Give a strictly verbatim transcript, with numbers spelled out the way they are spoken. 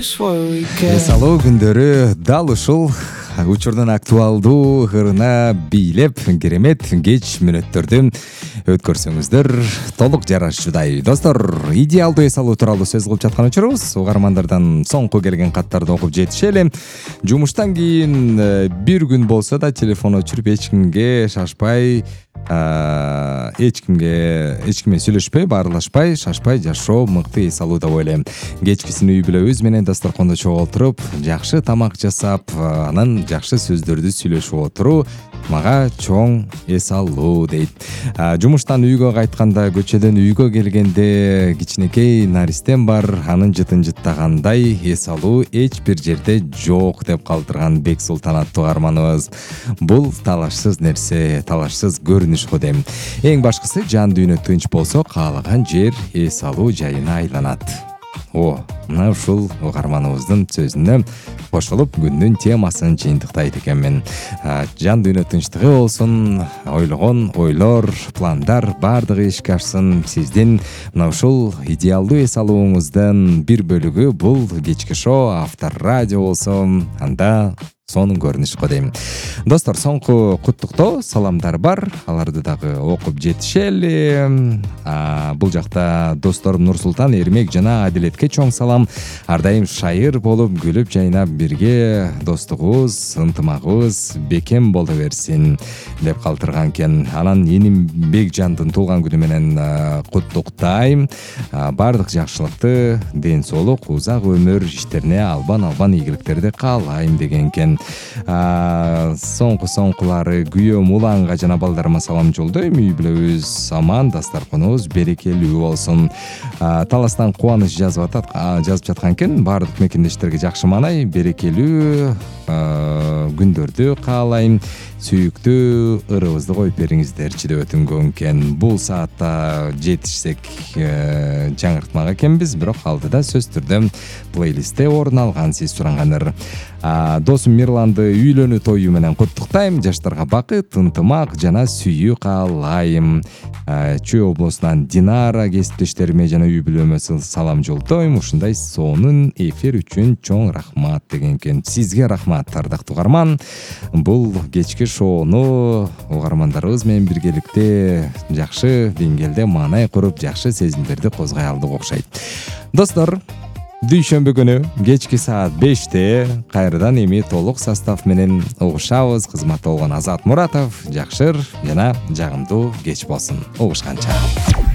эс алуу күндөрү дал ушул учурдун актуалдуу ырына бийлеп керемет кеч мүнөттөрдү өткөрсөңүздөр толук жарашчудай. Достор, идеалдуу эс алуу тууралуу сөз кылып жаткан учурубуз. Угармандардан соңку келген каттарды окуп жетишели. Жумуштан кийин бир күн болсо да телефон өчүрүп эч кимге шашпай, эч кимге эч кимге сүйлөшпөй, баарлашпай, шашпай жашоо мыкты эс алуу деп ойлойм. Кечкисин үй бүлөбүз менен дасторкондо чогултуруп, жакшы тамак жасап, анан жакшы сөздөрдү сүйлөшүп отуруу мага чоң эс алуу дейт. Жумуштан үйгө кайтканда, көчөдөн үйгө келгенде кичинекей наристем бар, анын жытын жыттагандай эс алуу эч бир жерде жок деп калтырган Бексултан аттуу арманыбыз. Бул талашсыз нерсе, талашсыз көрүнүш го дейм. Эң башкысы жан дүйнө тынч болсо, каалаган жер эс алуу жайына айланат. О, мына ушул угарманыбыздын сөзүнө кошулуп күндүн темасын жыйынтыктайт экенмин. Жан дүйнө тынчтыгы болсун, ойлогон ойлор, пландар бардыгы ишке ашсын. Сиздин мына ушул идеалдуу эс алууңуздун бир бөлүгү бул кечки шоу Автор радио болсо, анда сонун көрүнүш го дейм. Достор, соңку куттуктоо саламдар бар, аларды дагы окуп жетишели. Бул жакта досторум Нурсултан, Эрмек жана Адилетке чоң салам. Ар дайым шайыр болуп, күлүп жайнап бирге достугубуз, ынтымагыбыз бекем боло берсин деп калтырган экен. Анан эним Бекжандын туулган күнү менен куттуктайм. Бардык жакшылыкты, ден соолук, узак өмүр, иштерине албан-албан ийгиликтерди каалайм деген экен. Соңку соңкулары күйөөм Уланга жана балдарыма салам жолдойм. Үй бүлөбүз аман, дастарконубуз берекелүү болсун. Таластан кубаныч жазып атат, жазып жаткан экен. Бардык мекендештерге жакшы маанай, берекелүү күндөрдү каалайм. Сүйүктүү ырыбызды коюп бериңиздерчи деп өтүнгөн экен. Бул саатта жетишсек жаңыртмак экенбиз, бирок алдыда сөз түрдө плейлистте орун алган сиз сурангандар. Досум Мирланды үйлөнүү тою менен куттуктайм. Жаштарга бакыт, ынтымак жана сүйүү каалайм. Чүй облусунан Динара кесиптештериме жана үй бүлөмө салам жолдойм. Ушундай сонун эфир үчүн чоң рахмат деген экен. Сизге рахмат, ардактуу угарман. Бул кечки шоону угармандарыбыз менен биргеликте жакшы деңгээлде маанай куруп, жакшы сезимдерди козгой алдык окшойт. Достор, дүйшөмбү күнү кечки саат беште кайрадан эми толук состав менен угушабыз. Кызматта болгон Азат Муратов, жакшыр жана жагымдуу кеч болсун. Угушканча.